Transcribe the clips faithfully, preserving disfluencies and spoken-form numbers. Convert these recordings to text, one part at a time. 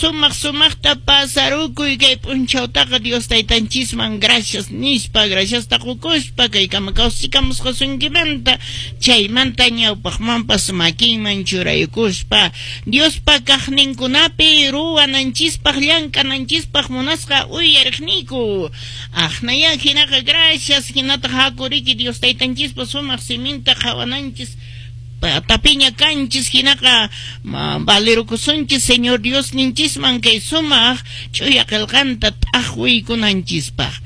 Sumaq sumaqta pasarukuy kay p'unchawtaqa Dios taytanchisman gracias nispa, graciasta qukuspa kay kama kawsachikamusqasunkimanta, chaymanta ñawpaqmanpas makinman churaykuspa Diospa kaqninkunapi ruwananchispaq llank'ananchispaq munasqa uyariqniyku. Aqnaya hinaqa gracias hinataq hakuriki Dios taytanchispa sumaq siminta qhawananchis tapiña kanchis hinaqa valerukusunchis Señor Dios ninchisman kay sumaq ch'uya qillqanta t'aqwiykunanchispaq.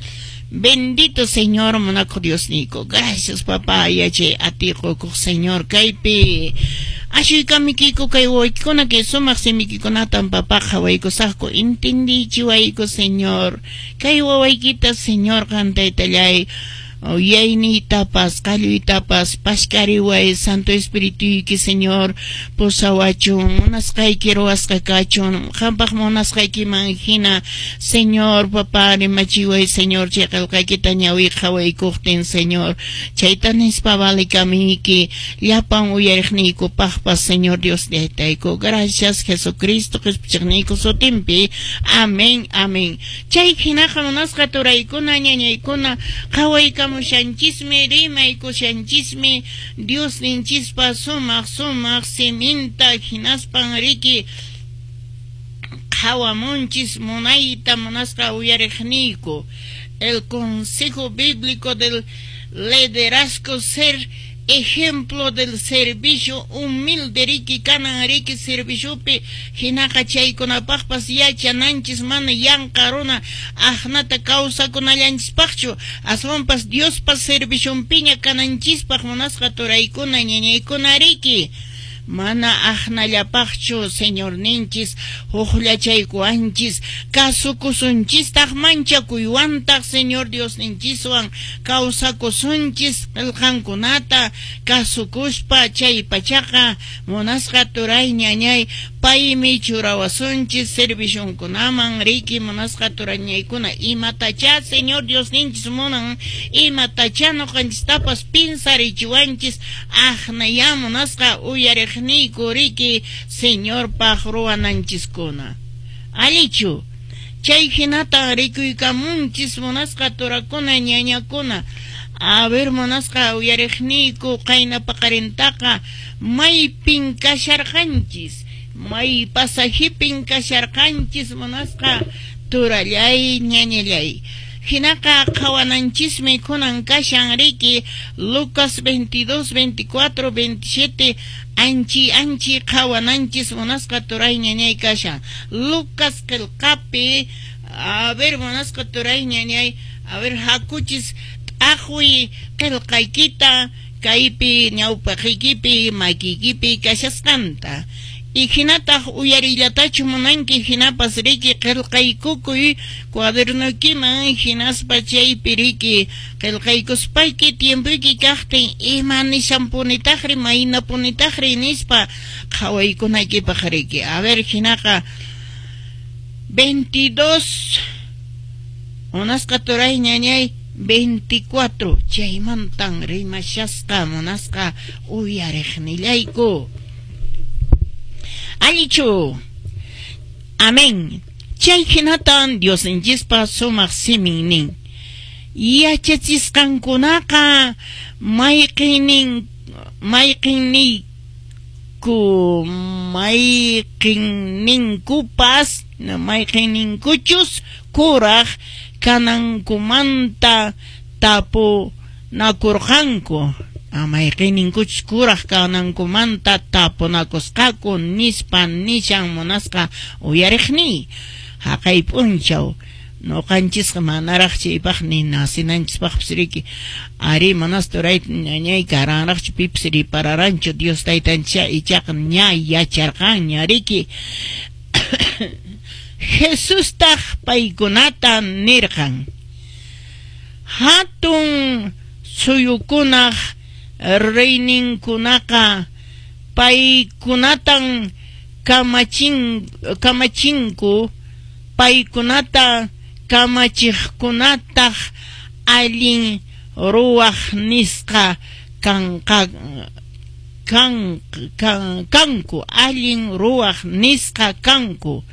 Bendito Señor munakuq Diosniyku. Gracias, papá, yachay atiqukuq Señor kaypi ashuykamikiyku kay wawaykikuna kay sumaq simikikunatan, papá, qhawaykusaqku, entendichiwayku, Señor, kay wawaykita, Señor, qan taytallay yuyayniytapas qalluytapas pashkariway, Santo Espirituyki, Señor, pusawachun, munasqayki ruwasqa kachun, qampaq munasqaykiman hina, Señor, papá, rimachiway, Señor, chay qillqaykita ñawi qhawaykuqtin, Señor, chayta nispa valikamiyki llapan uyariqniykupaqpas, Señor Dios taytayku. Gracias Jesucristo qhispichiqniyku sutinpi. Amén, amén. Chay hinaqa munasqa turaykuna ñañaykuna qhawaykamushanchismi rimaykushanchismi Dios ninchispa sumaq sumaq siminta hinaspan riki qhawamunchis munayta munasqa uyariqniyku el consejo bíblico del liderazgo, ser ejemplo del servicio humilde riki kanan riki serviciopi hinaqa chaykunapaqpas yachananchis mana yanqa runa aqnata kawsakunallanchispaqchu aswanpas Diospa servicionpiña kananchispaq munasqa turaykuna ñañaykuna riki mana aqnallapaqchu Señorninchis huqllachaykuwanchis kasukusunchistaq manchakuywantaq Señor Diosninchiswan kawsakusunchis qillqankunata kasukuspa chay pachaqa munasqa turay ñañay paymi churawasunchis servicionkunaman riki munasqa turañaykuna imatacha Señor Diosninchis munan imatacha ñuqanchistapas pinsarichiwanchis aqnaya munasqa uyariqniyku riki Señorpaq ruwananchiskuna allichu chay hinata rikuykamunchis munasqa turakuna ñañakuna. A ver, munasqa uyariqniyku qayna paqarintaqa maypin kasharqanchis may pasajipin kasharqanchis munasqa turallay ñañallay hinaqa qhawananchismi kunan kashan riki Lucas veintidós, veinticuatro, veintisiete anchi anchi qhawananchis munasqa turay ñañay kashan Lucas qillqapi. A ver, munasqa turay ñañay, a ver, hakuchis t'aqwi qillqaykita kaypi ñawpaqiykipi makiykipi kashasqanta y hinataq uyarillatachu munanki hinapas riki qillqaykukuy cuadernoykiman hinaspa chaypi riki qillqaykuspayki tiempoyki kaqtin ima nishanpunitaqri maynapunitaqri nispa qhawaykunaykipaq riki. A ver, hinaqa veintidós munasqa turay ñañay veinticuatro chaymantan rimashasqa munasqa uyariqnillayku allichu. Amén. Chay hinatan Diosninchispa sumaq simin nin yachachisqankunaqa mayqinnin mayqinniyku mayqinninkupas mayqinninkuchus kuraq kanankumanta tapunakurqanku mayqinninkuchus kuraq kanankumanta tapunakusqaku nispa nishan munasqa uyariqniy haqay p'unchaw ñuqanchisqa manaraq chaypaq ni nacinanchispaqpis riki ari manas turay ñañay karanraqchu pipis ripararanchu Dios taytanchik ichaqa ña yacharqanña riki. Jesustaq paykunata nirqan hatun suyukunaq reyninkunaqa paykunatan kamachin kamachinku paykunata kamachiqkunataq allin ruwaq nisqa kanqa kan, kan, kanku allin ruwaq nisqa kanku.